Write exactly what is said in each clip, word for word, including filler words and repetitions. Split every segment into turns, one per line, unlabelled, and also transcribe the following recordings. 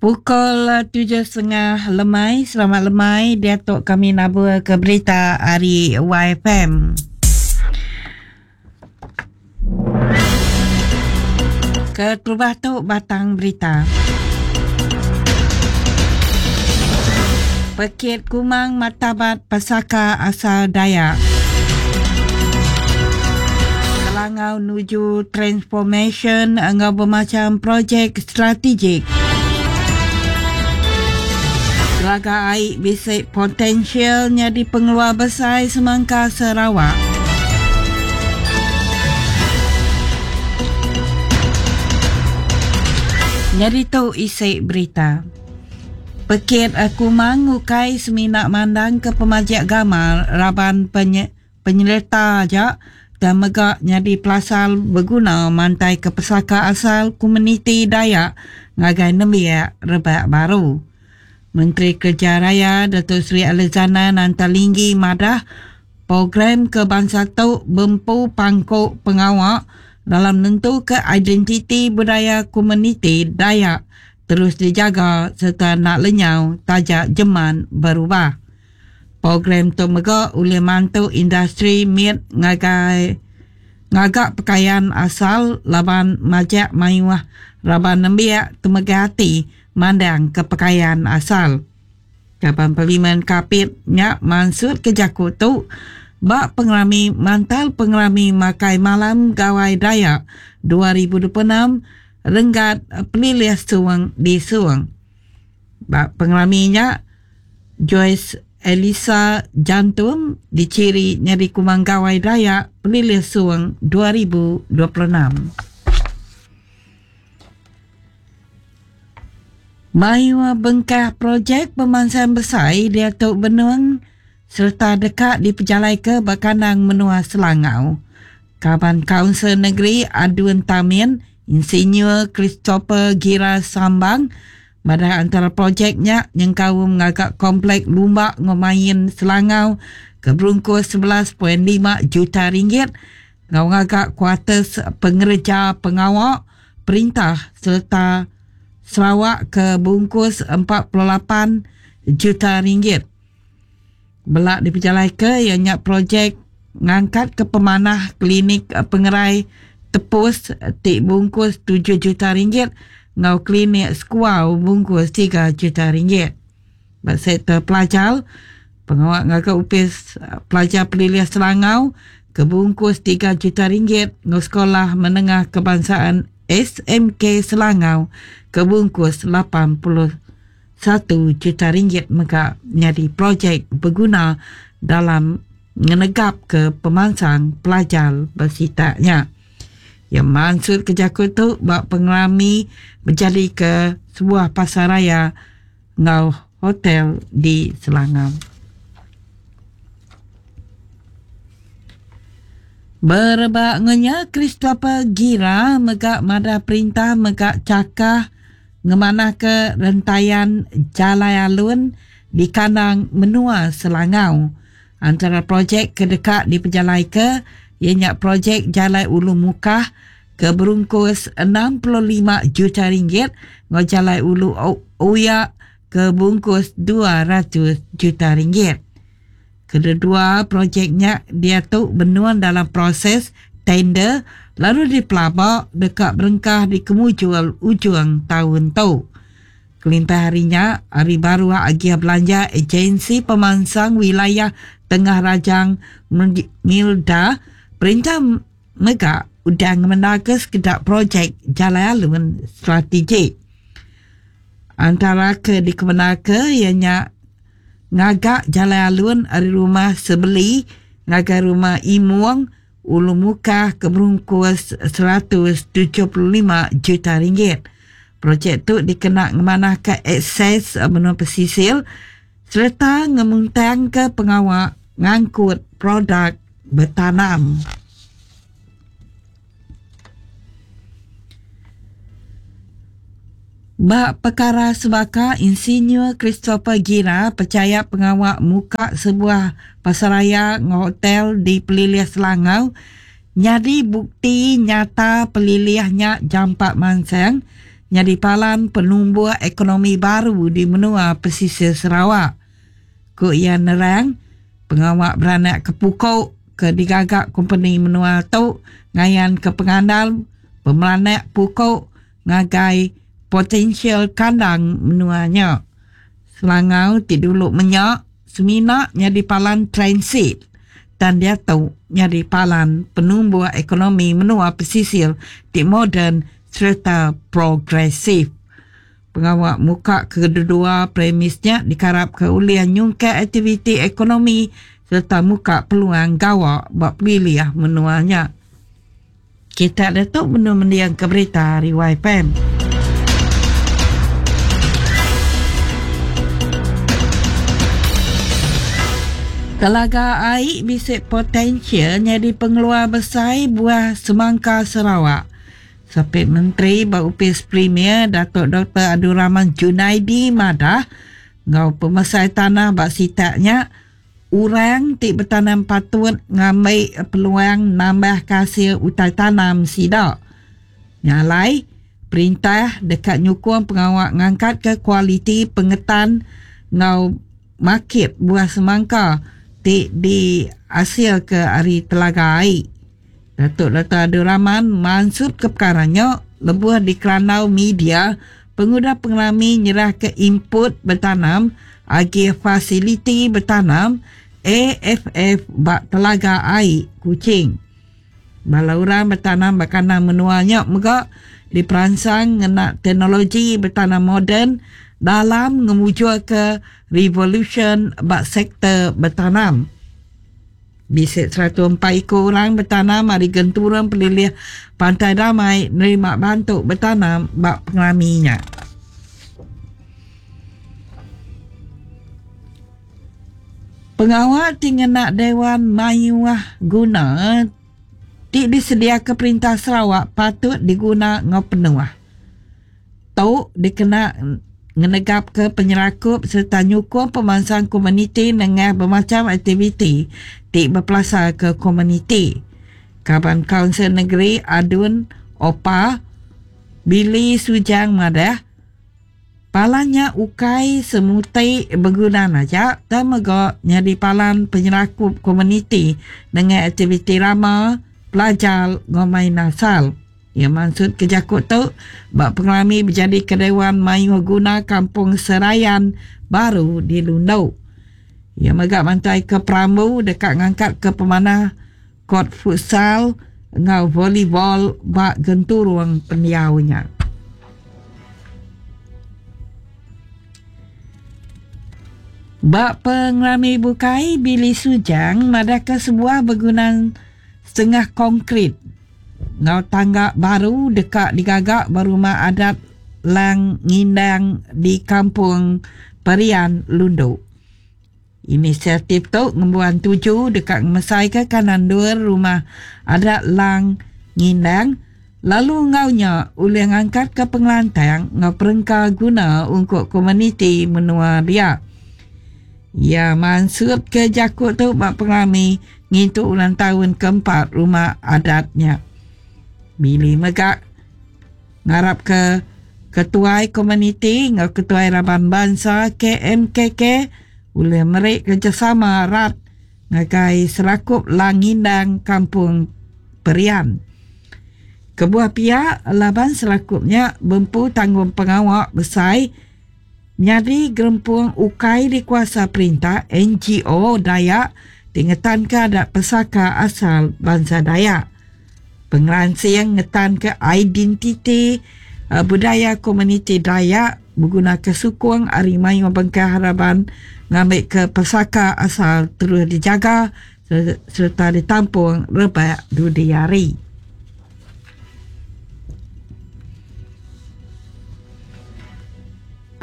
Pukul tujuh setengah lemai, selamat lemai, diatok kami nabur ke berita hari Y F M. Keterubah tu batang berita. Pekit Kumang Martabat Pesaka Asal Dayak. Selangau nuju transformation enggau bermacam projek strategik. Telaga air bisik potensialnya di pengeluar besar semangka Sarawak. Nyari tu isi berita. Pekit Kumang ukai semina mandang ke pemajik gamal raban penye, penyerta aja dan megak nyadi pelasal berguna mantai ke pesaka asal komuniti Dayak ngagai nembiak rebak baru. Menteri Kerja Raya Datuk Seri Alexander Nanta Linggi madah program ke bangsa tu bempu pangkuk pengawak dalam nentu ke identiti budaya komuniti Dayak terus dijaga serta nak lenyau tajak jeman berubah. Program tu mega oleh mantu industri miet ngagai ngagak pakaian asal laban majak mayuah raban nembiak temegah hati mandang ke pakaian asal. Kaban Parlimen Kapit nyak mansut ke jaku tu bak pengerami mantal pengerami makai malam Gawai Dayak dua ribu dua puluh enam renggat pelilih Suang di Suang. Bak pengerami nyak Joyce Elisa Jantum diciri nyadi Kumang Gawai Dayak pelilih Suang dua ribu dua puluh enam. Mayua bengkah projek pemansang besar dia tu benung serta dekat dipejalai ke Bakanang Menua Selangau. Kaban Kaunsil Negeri Adun Tamin, Insinyur Christopher Gira Sambang, pada antara projeknya yang kaum ngagak komplek Lumbak Ngomain Selangau ke berungkus sebelas perpuluhan lima juta ringgit, ngau ngagak kuartus pengerja pengawak perintah serta Sarawak ke bungkus empat puluh lapan juta ringgit. Belak diperjalai ke ianya projek ngangkat ke pemanah klinik pengerai tepus tik bungkus tujuh juta ringgit ngau klinik sekuau bungkus tiga juta ringgit. Bak sektor pelajar, pengawak ngagak upis pelajar pelilih Selangau ke bungkus tiga juta ringgit ngau sekolah menengah kebangsaan S M K Selangau ke bungkus lapan puluh satu juta ringgit mega menjadi projek berguna dalam ngenegap ke pemansang pelajar bersitaknya. Yang maksud kerja tu bak pengerami menjadi ke sebuah pasaraya ngau hotel di Selangau. Berebak ngenya Christopher Gira megak madah perintah megak cakah ngemanah ke rentayan Jalai Alun di kandang menua Selangau. Antara projek kedekat diperjalai ke ianya projek Jalai Ulu Mukah ke berungkus enam puluh lima juta ringgit ngau Jalai Ulu Uyak ke bungkus dua ratus juta ringgit. Kedua projeknya dia tu benuan dalam proses tender lalu dipelabak dekat berengkah di kemujual ujung tahun tu. Kelintah harinya, hari baru agia belanja agensi pemansang wilayah Tengah Rajang Milda perintah mega udah ngemenaka sekedar projek Jalai Alun strategik. Antara ke dikemenaka ianya ngagak Jalai Alun dari rumah Sebeli ngagai rumah Imuang Ulu Mukah ke berungkus seratus tujuh puluh lima juta ringgit. Projek tu dikena ngemanah ke akses menua pesisir serta ngemuntang ke pengawak ngangkut produk bertanam. Bak perkara sebaka, Insinyur Christopher Gira percaya pengawak muka sebuah pasaraya hotel di Pelilih Selangau nyadi bukti nyata pelilihnya jampak mansang nyadi palan penumbuh ekonomi baru di menua pesisir Sarawak. Ku iya nerang, pengawak beranak ke pukuk ke digagak kompeni menua tu ngayan ke pengandal pemeranak pukuk ngagai potensial kandang menuanya. Selangau ti dulu menyak semina nyadi palan transit dan dia tu nyadi palan penumbuh ekonomi menua pesisir ti moden serta progresif. Pengawak muka kedua premisnya dikarap ke ulian nyungka aktiviti ekonomi serta muka peluang gawak bak pilih menuanya. Kita datuk menu mendiang ke berita hari Y P M. Telaga air bisik potensial jadi pengeluar besar buah semangka Sarawak. Sapit Menteri Baupis Premier Datuk Doktor Abdul Rahman Junaidi madah ngau pemesai tanah bak sitaknya orang ti bertanam patut ngambil peluang nambah hasil utai tanam sidak. Nyalai perintah dekat nyukung pengawak ngangkat ke kualiti pengetan ngau market buah semangka ti di hasil ke hari Telaga Air. Datuk Doktor Abdul Rahman mansut ke perkaranya lebuh di kerandau media pengudah pengelami nyerah ke input bertanam agi fasiliti bertanam A F F bak Telaga Air Kuching. Bala orang bertanam bakana menuanya megak diperangsang ngena teknologi bertanam moden dalam ngemujur ke revolution bak sektor bertanam. Bisik seratus empat ekor orang bertanam hari genturang pelilih Pantai Damai nerima bantu bertanam bak pengelaminya. Pengawal tinggal Dewan Mayuah Guna ti disedia ke Perintah Sarawak patut diguna ngau penuh. Tu dikena ngenegap ke penyerakup serta nyukung pemansang komuniti dengan bermacam aktiviti ti berpelasar ke komuniti. Kaban Kaunsil Negeri Adun Opa Billy Sujang madah palannya ukai semutai berguna aja dan megak nyadi palan penyerakup komuniti dengan aktiviti rama pelajar ngomai nasal. Ya maksud kejakut tu bak pengelami berjadi ke Dewan Mayuh Guna Kampung Serayan baru di Lundu. Ya megak mantai ke Perambu dekat ngangkat ke pemanah kot futsal ngau volleyball bak genturung pendiaunya. Bak pengelami bukai Billy Sujang madahkan sebuah bangunan setengah konkrit ngau tangga baru dekat digagak berumah adat Lang Ngindang di Kampung Perian Lundu. Inisiatif tu ngembuan tuju dekat ngemesai ke kanan dua rumah adat Lang Ngindang lalu ngaunya ulih ngangkat ke pengelantang ngau perengka guna untuk komuniti menua dia. Ya mansut ke jakut tu bak pengalami ngintuk ulang tahun keempat rumah adatnya. Billy megak ngarap ke ketuai komuniti ngau ketuai raban bangsa K M K K ulih merik kerjasama erat ngagai serakup Langindang Kampung Perian. Kebuah pihak laban serakupnya bempu tanggung pengawak besar nyadi gerempung ukai di kuasa perintah N G O Dayak tingetan ke adat pesaka asal bangsa Dayak. Pengeransing ngetan ke identiti uh, budaya komuniti Dayak berguna ke sukung ari mayu bengkah harapan ngambil ke pesaka asal terus dijaga serta ditampung rebak dudiari.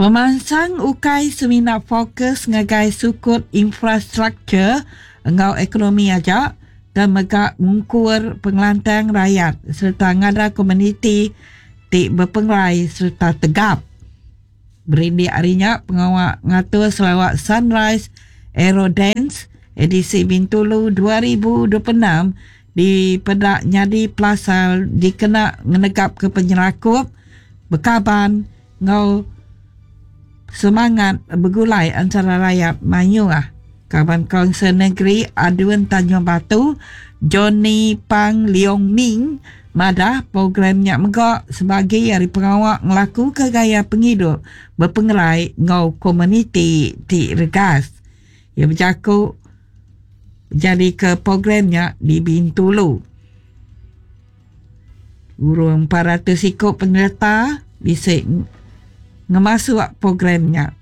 Pemansang ukai semina fokus ngagai sukut infrastruktur engau ekonomi aja dan megak mungkur pengelantang rakyat serta ngada komuniti ti berpengerai serta tegap. Berindik harinya pengawak ngatur Sarawak Sunrise Aerodance edisi Bintulu dua ribu dua puluh enam di Pedak Nyadi Plaza dikena ngenegap ke penyerakup bekaban ngau semangat begulai antara rakyat mayuh. Kaban Kaunsil Negeri Adun Tanjung Batu Johnny Pang Leong Ming madah programnya megak sebagai hari pengawak ngelaku ke gaya penghidup berpengerai ngau komuniti ti regas. Ia berjakuk jadi ke programnya di Bintulu. Urung empat ratus ikut penyerta bisa ngemasuk programnya.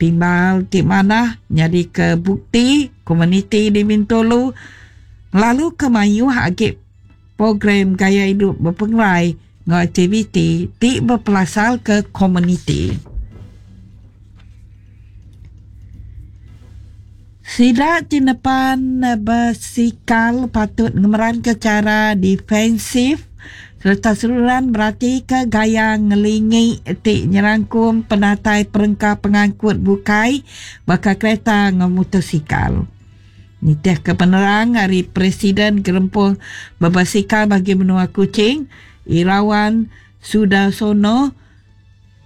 Timbal ti mana jadi ke bukti komuniti di Bintulu lalu ke mayuh agi program gaya hidup berpengerai ngau aktiviti ti berpelasal ke komuniti. Sida tinepan bersikal patut ngemeran ke cara defensif serta seluruhan berarti ke gaya ngelingi ti nyerangkum penatai perengka pengangkut bukai bakal kereta ngau motosikal. Nitih ke penerang hari Presiden Gerempung Berbasikal bagi Menua Kuching, Irawan Sudarsono,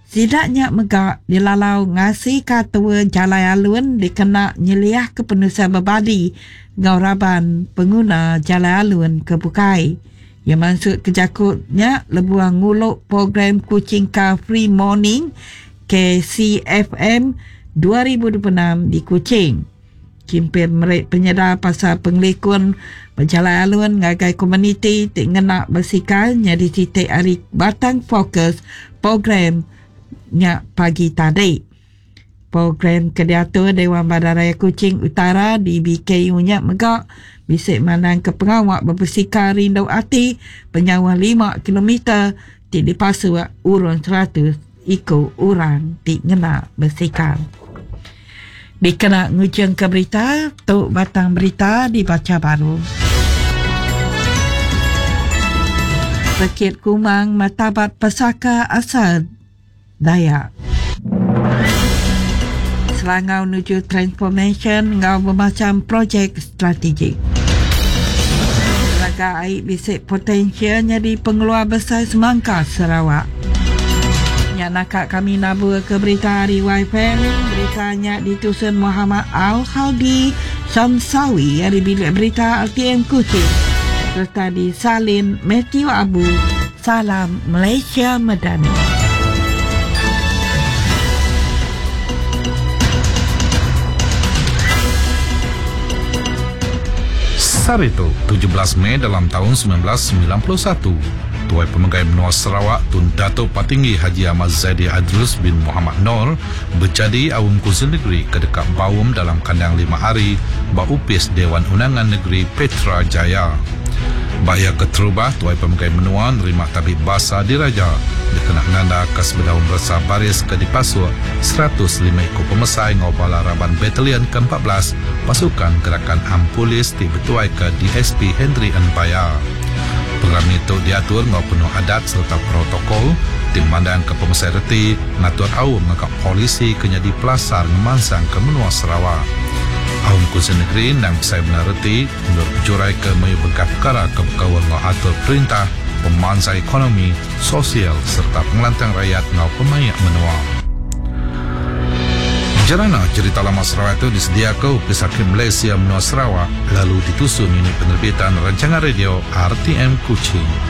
sidaknya megak dilalau ngasi katua jalai alun dikena nyeliah ke penusa berbadi ngau raban pengguna jalai alun ke bukai. Yang masuk ke jakutnya lebuang nguluk program Kuching Car Free Morning K C F M dua ribu dua puluh enam di Kuching. Kimpir merik penyedar pasal pengelikun berjalan alun ngagai komuniti ti ngenak bersikal nyadi titik hari batang fokus program nya pagi tadi. Program kediatur Dewan Bandaraya Kuching Utara di B K U nya megak bisik manang ke pengawak berbesikal rindu ati penyawah lima kilometer ti dipasu urun seratus ikut orang ti ngena bersikal. Dikena ngujung ke berita, tuk batang berita dibaca baru. Pekit Kumang Martabat Pesaka Asal Dayak. Selangau menuju transformation ngau bermacam projek strategik. Telaga air bisik potensial jadi pengeluar besar semangka Sarawak. Nyak nakak kami nabur ke berita hari Y F M. Beritanya ditusun Muhammad Al-Khaldi Samsawi dari bilik berita R T M Kuching. Serta disalin Matthew Abu. Salam Malaysia Madani.
Sarito, tujuh belas Mei dalam tahun sembilan belas sembilan puluh satu, Tuai Pemegai Menua Sarawak Tun Datuk Patinggi Haji Ahmad Zaidi Adrus bin Muhammad Nor berjadi Awam Kunsil Negeri ke dekat Bawum dalam kandang lima hari Baupis Dewan Undangan Negeri Petra Jaya. Baya keterubah Tuai Pemegai Menua nerima tabik basa diraja dikena nanda ke sebedau meresa baris ke dipasuk seratus lima ekor pemesai ngau bala raban batalion ke empat belas pasukan gerakan Ampulis ti betuai ke D S P Henry Anbaya. Program itu diatur ngau penuh adat serta protokol ti memandang ke pemesai reti ngatur awam ngakak polisi ke nyadi pelasar ngemansang ke menua Sarawak. Awam Kunsil Negeri nang besai benar reti menurut pejurai ke mayu bengkah perkara ke berkawal ngau atur perintah, pemangsa ekonomi, sosial serta pengelantang rakyat ngau pemayak menua. Jerana cerita lama Sarawak itu disediakan Opis Hakim Malaysia Menua Sarawak lalu ditusun unit penerbitan rancangan radio R T M Kuching.